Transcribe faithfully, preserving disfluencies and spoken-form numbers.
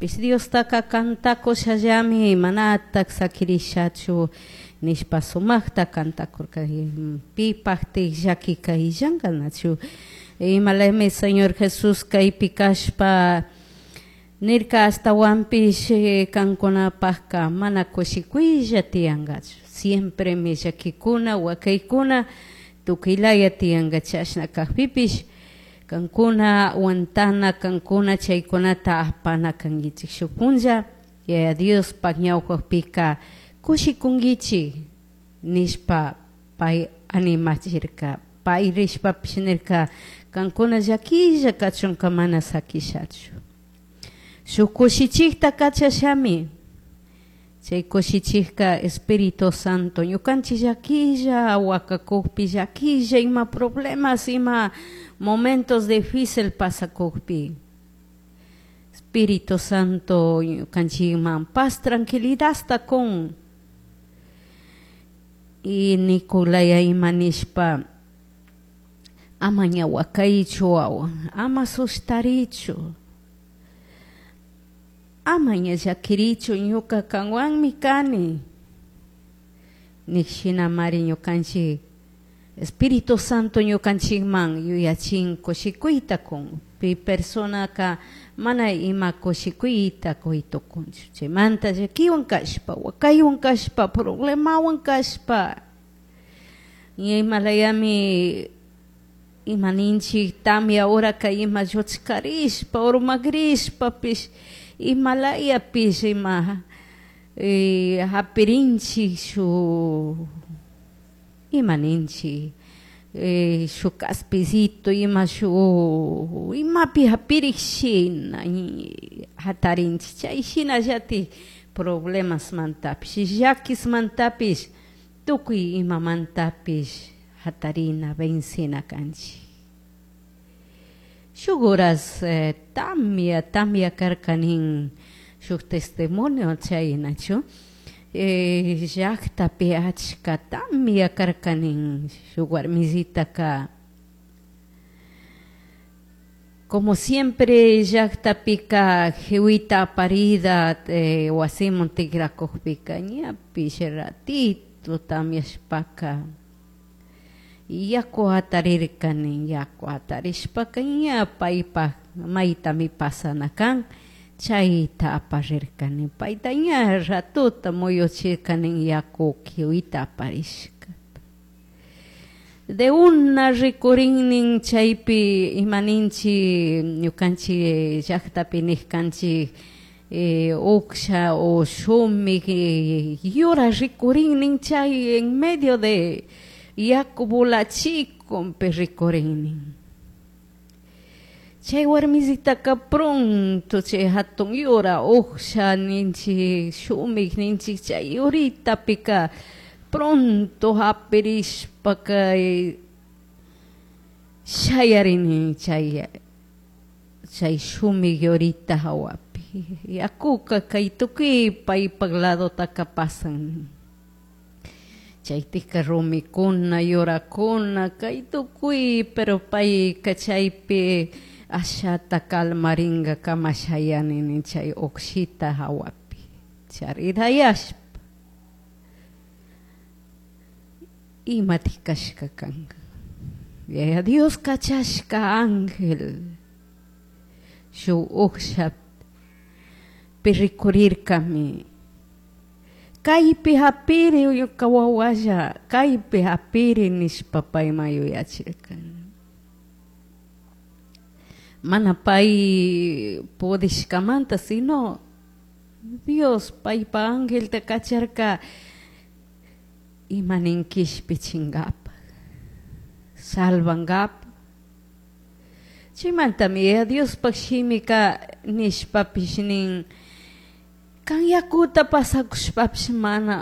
Pish Diostaqa kantakushallami manatak sakirishachu nishpa sumaqta kantakurka pipaqtik llakika illanka, imalami Señor Jesús kaypi kashpa nirka ashtawanpish kankunapakka mana kushikuylla tiyankachu, siempremi llakikuna wakaykuna tukuylaya tiyanka. Chashna kakpipish kankuna aguantana, kankuna chaykunata apana kankichik. Shuk punlla Yaya Diospaj ñawpakpika kushikunkichik nishpa pay animachirka. Pay rishpapish nirka kankuna llakilla kachunka mana sakishachu, shuk kushichikta kachashami. Chay kushichikka Espíritu Santo. Ñukanchik llakilla wakakukpi, llakilla ima problemas, ima momentos difícil pasakukpi, Espíritu Santo ñukanchikman paz, tranquilidadta kun y nikulaya ima nishpa: ama ña wakaychu wawa, ama sustarichu, ama ña llakirichu, ñuka kanwanmi kani nik. Shinamari ñukanchik Espíritu Santo ñukanchikman yuyachin, kushikuyta kun. Pi personaka mana ima kushikuyta kuy tukunchu. Chaymanta llakiwan kashpa, wakaywan kashpa, problemawan kashpa, imalayami ima ninchik tamia horaka ima lluchkarishpa urmakrishpapish, imalayapish ima hapirinchik shuk ima ninchik shuk kaspicito, ima shuk imapi hapirik shina hatarinchik. Chay shinallatik problemasmantapish, llakismantapish, tukuy imamantapish hatarina, vencina kanchik. Shuk horas tamia tamia karka nin shuk testimonio chaynachu llaktapi achka tamia karka nin. Shuk warmisitaka como siempre llaktapika jiwita aparida wasiman tikrakukpika ñapish ratito tamiashpaka yaku hatarirka nin. Yaku hatarishpaka ña paypak maytami pasana kan chayta aparirka nin. Payta ña ratuta muyuchirka nin yaku kiwita aparishkata. De una rikurin nin chaypi ima ninchik ñukanchik llaktapi nishkanchik uksha o shumik yura rikurin nin chay en medio de yaku volachikunpi rikurin nin. Chay warmisitaka pronto chay hatun yura uksha ninchik, shumik ninchik, chay yuritapika pronto hapirishpaka shayarini chay chay shumik yurita hawapi. Yakuka kay tukuy paypak ladotaka pasan. Chaytika rumikuna, yurakuna kay tukuy, pero payka chaypi ashata kalmaringakama shayani chay ukshita hawapi charirayashpa. Imatik kashka kanka Yaya Dios kachashka ángel shuk ukshapi rikurirkami: kaypi hapiri ñuka wawalla, kaypi hapiri nishpa payman yuyachirka. Mana pay pudishkamanta, sino Dios paypa angelta kacharka ima nin kishpichinkapak, salvankapak. Chaymantami Yaya Diospaj shimika nishpapish nin: kan yakuta pasakushpapish mana